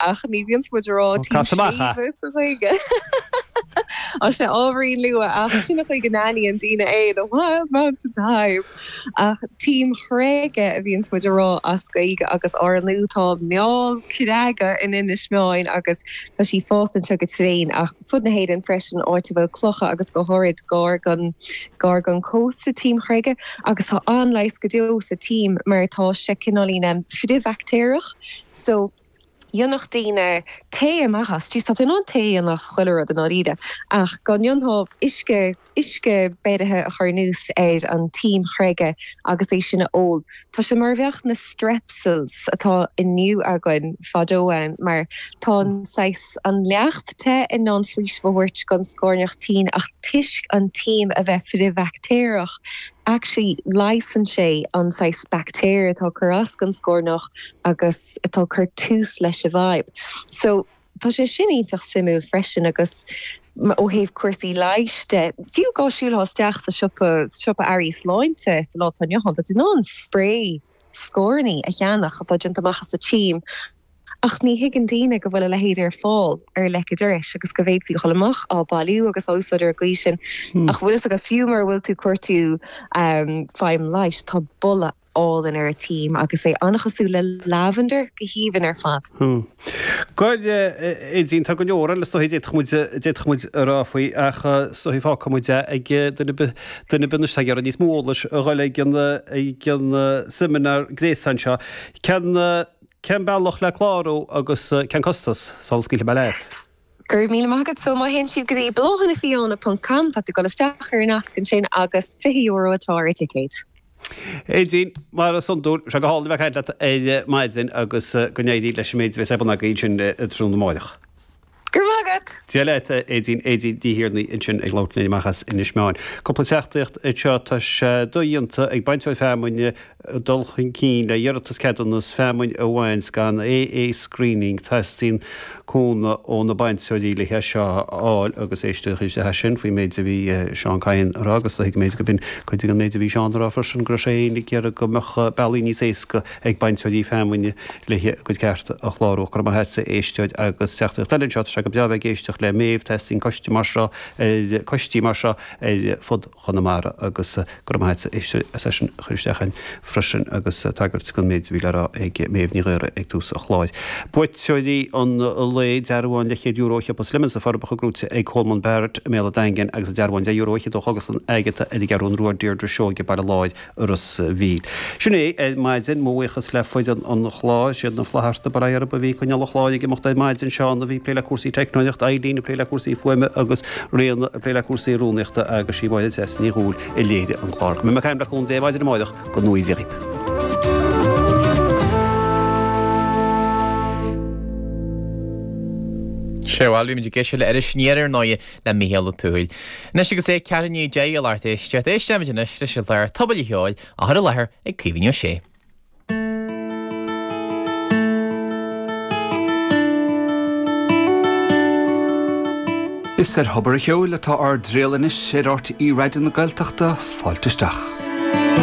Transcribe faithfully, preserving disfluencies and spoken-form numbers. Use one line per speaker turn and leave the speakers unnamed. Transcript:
ach ní bhíonns muid a rá tím
Cas amach é.
sléibhe sa Ghaeilge. Tá sé ábhairín luath ach sin an chaoi go n-aithníonn daoine é, the wild mountain thyme. Ach tím chreige a bhíonns muid a rá as Gaeilge agus ár ndóigh tá meall creaga in Inis Meáin agus tá sí fás anseo go tréan ach fud na hÉireann freisin áit a bhfuil clocha agus go háirid gar don gar don cósta tím chreige agus tá an-leigheas go deo sa tím mar tá sé cineáilín frithbhaictéarach so dhéanfadh daoine tae amach as, jeez tá tú in ann tae a dhéanamh as chuile rud i ndáiríre ach go ndéanfá uisce uisce beirithe a chur anuas ar an tím chreige agus é sin a ól. Tá sé mar a bheadh na Strepsils atá inniu againn fadó ann mar tá an saghas an leacht te in ann faoiseamh a thabhairt don scornach tinn ach toisc an tím a bheith frithbhaictéarach actually leigheasann sé an saghas baictéar atá ag cur as don scornach agus atá ag cur tús leis an bhfadhb. So tá sé sin iontach suimiúil freisin agus ó thaobh cúrsaí leighis de, fiú dhá siúlfá isteach sa siopa siopa earraí sláinte sa lá atá inniu ann, tá tú in ann spray scornaí a cheannach atá déanta amach as an tím ach ní thuigeann daoine go bhfuil a leithéid ar fáil ar leic an dorais agus go bhféadfaí a dhul amach á bailiú agus á úsáid ar an gcaoi sin. Ach bhfuil fhios agat fiú mura bhfuil tú ag cuartú feidhm leighis, tá boladh álainn ar an tím agus é an-chosúil le lavender go haoibhinn ar fad.
Bhuel, Aedín, tá go leor eile is dóichí d'fhéadfadh muid, d'fhéadfadh muid a rá faoi ach is dóichí fágfaidh muid é ag duine ar bith, duine ar bith anois atá ag iarraidh níos mó eolais a dhul ag an, ag an seimineár gréasáin seo. Cén, cén bealach le clárú agus cén costas, sula scaoilfidh mé leat?
Go raibh míle maith agat. So má théann siad go dtí bláthannafiáine ponc com tá tú ag dul isteach ar an nasc ansin agus fiche euro atá ar an ticéad.
Aedín, mar is iondúil, sé go hálainn a bheith ag caint leat ar maidin agus go n-éirí leis an méid a bheas ar bun agaibh ansin tráthnóna amárach.
Go raibh maith agat!
Dia leat, a Aedín. Aedín Ní Thiarnaigh ansin ag labhairt linn amach as Inis Meáin. Cúpla teachtaireacht anseo, tá sé dodhéanta ag bainteoir feamainne dul chun cinn le iarratas ceadúnas feamainn a bhaint gan AA screening, teastaíonn cúnamh ó na bainteoirí le hé seo a fháil agus éisteadh isteach as sin faoin méid a bhí Seán Kyne a rá agus tuigim go b'in cuid den méid a bhí Seán a rá freisin go raibh sé féin ag iarraidh go mbeadh bealaí níos éasca ag bainteoirí feamainne le a gcuid cearta a chlárú. Go raibh maith agatsa a éisteoir agus teachtaireacht eile anseo, tá sé go breá bheith ag éisteacht le Méabh, teastaíonn coiste mar seo ar coistí mar seo ar fud Chonamara agus go raibh maith agatsa a éisteoir as é sin a chur isteach againn freisin agus tagairt don méid a bhí le rá ag Méabh Ní Ghaora ag tús an chláir. Buaiteoirí an lae, dearbhán leathchéad euro ó shiopa Slimmons sna Forbacha gnóite ag Colman Barrett i mBéal an Daingin agus an dearbhán deich euro fhichead ó Chógaslann Agatha ar an gCeathrú Rua Deirdre Seoige, Baile Láir, Ros a' Mhíl. Sin é ar maidin. Mo bhuíochas le foireann an chláir. Siad na Flatharta bail ó Dhia orthu a bhí ag coinneáil an chláir ag imeacht ar maidin, Seán a bhí ag plé le cúrsaí teicneolaíochta, Eileen ag plé le cúrsaí fuaime agus Ríona ag plé le cúrsaí rúnaíochta agus sí Máire Treasa Ní Dhubhghaill a léirigh an clár. Go mbeidh mé ag caint le cúnamh Dé ar maidin amáireach, go ngnóthaí Dia dhaoibh.
Sea, bhuel, bhí muid ag éisteacht le Iris Aniar ar ndóighe le Mícheál Ó Tuathail. Anois agus é ceathrú i ndiaidh a deich a lucht éisteachta, éistfimid anois leis an chlár Tobar an Cheoil á chur i láthair ag Caoimhín Ó Sé.
Is ar Thobar an Cheoil atá ár dtriall anois ar RTÉ Raidió na Gaeltachta, fáilte isteach.